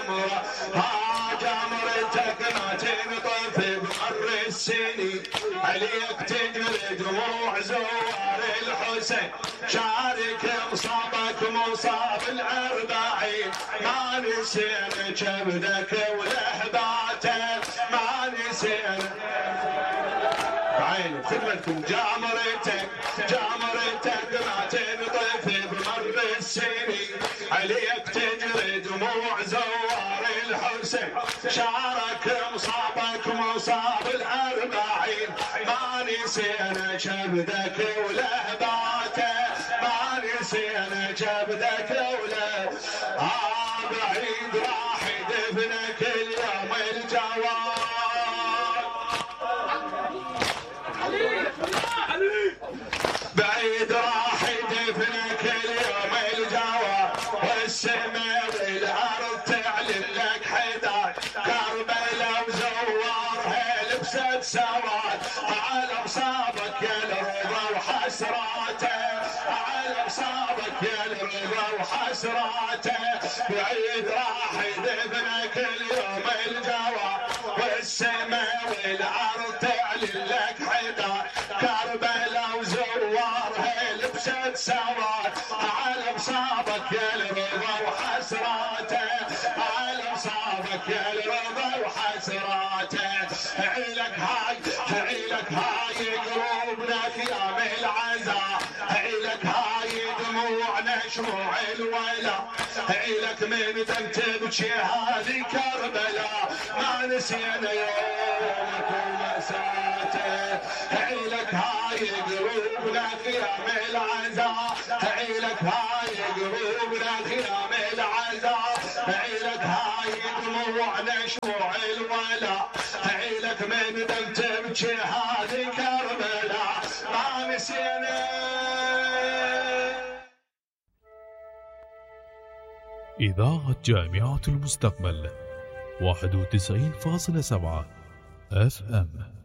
جمرة جمرتك ما تنطفي بمر السنين عليك تجري دموع زوار الحسين شارك مصابك مصاب الأربعين ما نسينا كبدك ولهباتك ما نسينا بعين بخدمتكم جمرتك ما تنطفي بمر السنين عليك تجري دموع زوار الحسين شارك مصابك مصاب الأربعين ما نسينا كبدك ولهباتك ما نسينا كبدك ولهباتك بعيد راح يدفنك اليوم الجواد بعيد راح يدفنك اليوم الجواد والسماء والارض تعلن لك حداد كربلاء وزوارها لبست سواد على مصابك يا الرضا وحسراته على مصابك يا الرضا وحسراته بعيد راح يدفنك اليوم الجواد والسماء والارض تعلن لك حداد كربلاء وزوارها لبست سواد على مصابك يا الرضا وحسراته على مصابك يا الرضا وحسراته عيلك هاي قلوبنا خيام العزاء عيلك هاي دموعنا شموع الولا عيلك من دم تبكي هذه كربلاء ما نسينا يومك ومساته عيلك هاي قلوبنا خيام العزاء عيلك هاي قلوبنا خيام العزاء عيلك هاي دموعنا شموع الولا عيلك من دم تبكي هذه كربلاء ما نسينا. إذاعة جامعة المستقبل 91.7 FM